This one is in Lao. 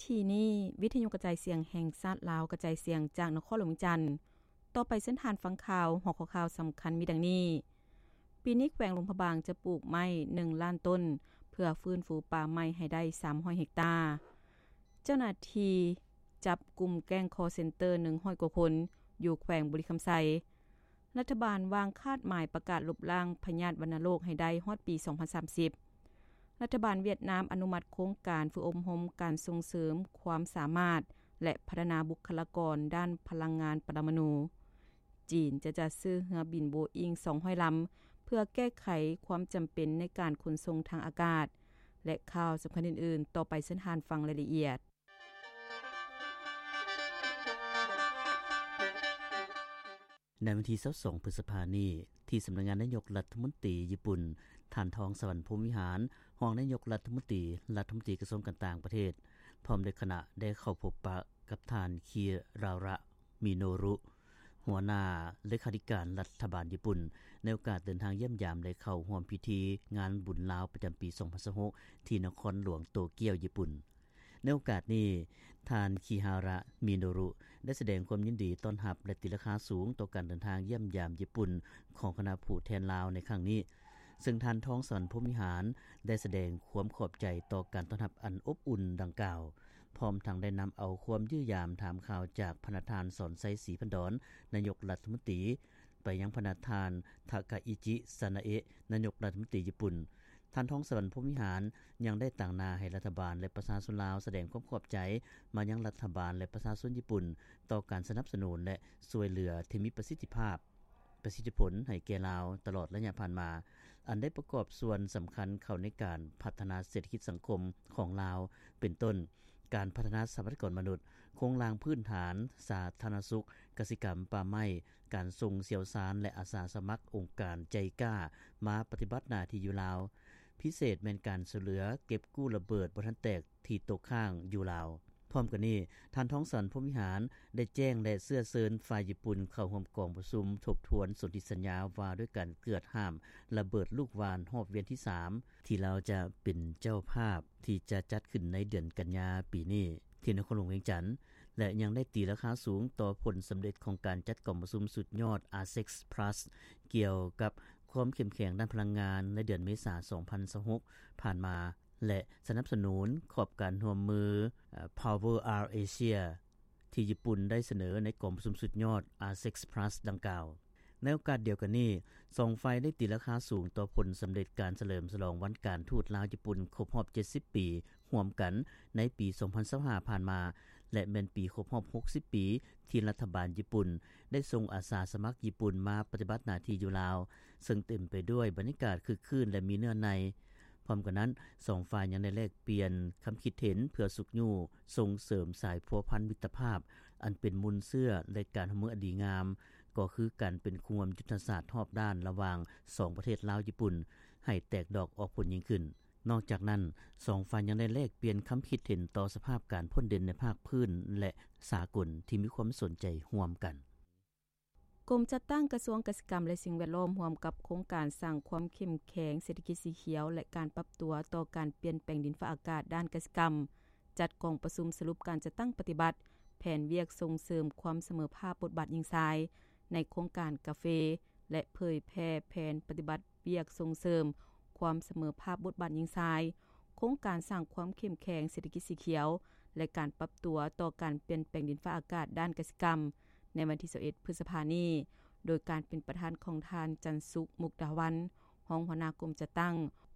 ທີ່ນີ້ ວິທະຍຸກະຈາຍສຽງແຫ່ງຊາດລາວ ກະຈາຍສຽງຈາກນະຄອນຫຼວງວຽງຈັນ. ຕໍ່ໄປເຊີນທ່ານຟັງຂ່າວ. ຫົວຂໍ້ຂ່າວສຳຄັນມີດັ່ງນີ້: ປີນີ້ແຂວງຫຼວງພະບາງຈະປູກໄມ້ໜຶ່ງລ້ານຕົ້ນ ເພື່ອຟື້ນຟູປ່າໄມ້ໃຫ້ໄດ້ສາມຮ້ອຍເຮັກຕາ. ເຈົ້າໜ້າທີ່ຈັບກຸ່ມແກ້ງຄໍເຊັນເຕີໜຶ່ງຮ້ອຍກວ່າຄົນ ຢູ່ແຂວງບໍລິຄຳໄຊ. ລັດຖະບານວາງຄາດໝາຍປະກາດລົບລ້າງພະຍາດວັນນະໂລກໃຫ້ໄດ້ຮອດປີສອງພັນສາມສິບ. ລັດຖະບານຫວຽດນາມອະນຸມັດໂຄງການຝຶກອົບຮົມການສົ່ງເສີມຄວາມສາມາດ ແລະ ພັດທະນາບຸກຄະລາກອນດ້ານພະລັງງານປະລະມະນູ. ຈີນຈະຈັດຊື້ເຮືອບິນໂບອິງສອງຮ້ອຍລຳ ເພື່ອແກ້ໄຂຄວາມຈຳເປັນໃນການຂົນສົ່ງທາງອາກາດ ແລະ ຂ່າວສຳຄັນອື່ນໆ. ຕໍ່ໄປເຊີນທ່ານຟັງລາຍລະອຽດ. ໃນວັນທີຊາວສອງ ພຶດສະພານີ້ ທີ່ສຳນັກງານນາຍົກລັດຖະມົນຕີຍີ່ປຸ່ນ, ທ່ານ ທອງສະຫວັນ ພົມວິຫານ ຮອງນາຍົກລັດຖະມົນຕີ, ລັດຖະມົນຕີກະຊວງການຕ່າງປະເທດ ພ້ອມດ້ວຍຄະນະ ໄດ້ເຂົ້າພົບປະກັບທ່ານ ຄິຣາຣະ ມິໂນຣຸ ຫົວໜ້າເລຂາທິການລັດຖະບານຍີ່ປຸ່ນ ໃນໂອກາດເດີນທາງຢ້ຽມຢາມ ແລະ ເຂົ້າຮ່ວມພິທີງານບຸນລາວປະຈຳປີສອງພັນຊາວຫົກ ທີ່ນະຄອນຫຼວງໂຕກຽວ, ຍີ່ປຸ່ນ. ໃນໂອກາດນີ້, ທ່ານ ຄິຮາຣະ ມິໂນຣຸ ໄດ້ສະແດງຄວາມຍິນດີຕ້ອນຮັບ ແລະ ຕີລາຄາສູງຕໍ່ການເດີນທາງຢ້ຽມຢາມຍີ່ປຸ່ນຂອງຄະນະຜູ້ແທນລາວໃນຄັ້ງນີ້, ເຊິ່ງທ່ານ ທອງສະຫວັນ ພົມວິຫານ ໄດ້ສະແດງຄວາມຂອບໃຈຕໍ່ການຕ້ອນຮັບອັນອົບອຸ່ນດັ່ງກ່າວ, ພ້ອມທັງໄດ້ນຳເອົາຄວາມຢ້ຽມຢາມຖາມຂ່າວຈາກພະນະທ່ານ ສອນໄຊ ສີພັນດອນ ນາຍົກລັດຖະມົນຕີ ໄປຍັງພະນະທ່ານ ທາກາອິຈິ ຊານາເອະ ນາຍົກລັດຖະມົນຕີຍີ່ປຸ່ນ. ທ່ານ ທອງສະຫວັນ ພົມວິຫານ ຍັງໄດ້ຕາງໜ້າໃຫ້ລັດຖະບານ ແລະ ປະຊາຊົນລາວສະແດງຄວາມຂອບໃຈມາຍັງລັດຖະບານ ແລະ ປະຊາຊົນຍີ່ປຸ່ນ ຕໍ່ການສະໜັບສະໜູນ ແລະ ຊ່ວຍເຫຼືອທີ່ມີປະສິດທິພາບ, ປະສິດທິຜົນໃຫ້ແກ່ລາວຕະຫຼອດໄລຍະຜ່ານມາ, ອັນໄດ້ປະກອບສ່ວນສຳຄັນເຂົ້າໃນການພັດທະນາເສດຖະກິດສັງຄົມຂອງລາວ, ເປັນຕົ້ນ ການພັດທະນາຊັບພະຍາກອນມະນຸດ, ໂຄງລ່າງພື້ນຖານ, ສາທາລະນະສຸກ, ກະສິກຳ, ປ່າໄມ້, ການສົ່ງຊ່ຽວຊານ ແລະ ອາສາສະໝັກອົງການໃຈກ້າມາປະຕິບັດໜ້າທີ່ຢູ່ລາວ, ພິເສດແມ່ນການຊ່ວຍເຫຼືອເກັບກູ້ລະເບີດບໍ່ທັນແຕກທີ່ຕົກຄ້າງຢູ່ລາວ. ພ້ອມກັນນີ້, ທ່ານ ທອງສະຫວັນ ພົມວິຫານ ໄດ້ແຈ້ງ ແລະ ເຊື້ອເຊີນຝ່າຍຍີ່ປຸ່ນເຂົ້າຮ່ວມກອງປະຊຸມທົບທວນສົນທິສັນຍາວ່າດ້ວຍການເກືອດຫ້າມລະເບີດລູກຫວ່ານຮອບວຽນທີສາມ ທີ່ລາວຈະເປັນເຈົ້າພາບ ທີ່ຈະຈັດຂຶ້ນໃນເດືອນກັນຍາປີນີ້ ທີ່ນະຄອນຫຼວງວຽງຈັນ ແລະ ຍັງໄດ້ຕີລາຄາສູງຕໍ່ຜົນສຳເລັດຂອງການຈັດກອງປະຊຸມສຸດຍອດ ອາເຊັກ ພລັສ ກ່ຽວກັບຄວາມເຂັ້ມແຂງດ້ານພະລັງງານໃນເດືອນເມສາ ສອງພັນຊາວຫົກ ຜ່ານມາ ແລະ ສະໜັບສະໜູນຂອບການຮ່ວມມື ເອີ່ ພາວເວີ ອາ ເອເຊຍ ທີ່ຍີ່ປຸ່ນໄດ້ສະເໜີໃນກອງປະຊຸມສຸດຍອດ ອາເຊັກ ພລັສ ດັ່ງກ່າວ. ໃນໂອກາດດຽວກັນນີ້, ສອງຝ່າຍໄດ້ຕີລາຄາສູງຕໍ່ຜົນສຳເລັດການສະເຫຼີມສະຫຼອງວັນການທູດລາວຍີ່ປຸ່ນຄົບຮອບເຈັດສິບປີຮ່ວມກັນໃນປີສອງພັນຊາວຫ້າ ຜ່ານມາ ແລະ ແມ່ນປີຄົບຮອບຫົກສິບປີ ທີ່ລັດຖະບານຍີ່ປຸ່ນໄດ້ສົ່ງອາສາສະໝັກຍີ່ປຸ່ນມາປະຕິບັດໜ້າທີ່ຢູ່ລາວ, ເຊິ່ງເຕັມໄປດ້ວຍບັນຍາກາດຄຶກຄື້ນ ແລະ ມີເນື້ອໃນ. ພ້ອມກັນນັ້ນ, ສອງຝ່າຍຍັງໄດ້ແລກປ່ຽນຄຳຄິດເຫັນເພື່ອຊຸກຍູ້ສົ່ງເສີມສາຍພົວພັນມິດຕະພາບ ອັນເປັນມູນເຊື້ອ ແລະ ການຮ່ວມມືອັນດີງາມ, ກໍຄືການເປັນຄູ່ຮ່ວມຍຸດທະສາດຮອບດ້ານລະຫວ່າງສອງປະເທດລາວ-ຍີ່ປຸ່ນ ໃຫ້ແຕກດອກອອກຜົນຍິ່ງຂຶ້ນ. ນອກຈາກນັ້ນ, ສອງຝ່າຍຍັງໄດ້ແລກປ່ຽນຄຳຄິດເຫັນຕໍ່ສະພາບການພົ້ນເດັ່ນໃນພາກພື້ນ ແລະ ສາກົນທີ່ມີຄວາມສົນໃຈຮ່ວມກັນ. ກົມຈັດຕັ້ງກະຊວງກະສິກຳ ແລະ ສິ່ງແວດລ້ອມ ຮ່ວມກັບໂຄງການສ້າງຄວາມເຂັ້ມແຂງເສດຖະກິດສີຂຽວ ແລະ ການປັບຕົວຕໍ່ການປ່ຽນແປງດິນຟ້າອາກາດດ້ານກະສິກຳ ຈັດກອງປະຊຸມສະຫຼຸບການຈັດຕັ້ງປະຕິບັດແຜນວຽກສົ່ງເສີມຄວາມສະເໝີພາບບົດບາດຍິງຊາຍ ໃນໂຄງການກາເຟ ແລະ ເຜີຍແຜ່ແຜນປະຕິບັດວຽກສົ່ງເສີມຄວາມສະເໝີພາບບົດບາດຍິງຊາຍ, ໂຄງການສ້າງຄວາມເຂັ້ມແຂງເສດຖະກິດສີຂຽວ ແລະ ການປັບຕົວຕໍ່ການປ່ຽນແປງດິນຟ້າອາກາດດ້ານກະສິກຳ ໃນວັນທີຊາວເອັດ ພຶດສະພານີ້, ໂດຍການເປັນປະທານຂອງທ່ານ ຈັນສຸກ ມຸກດາວັນ ຮອງຫົວໜ້າກົມຈັດຕັ້ງ,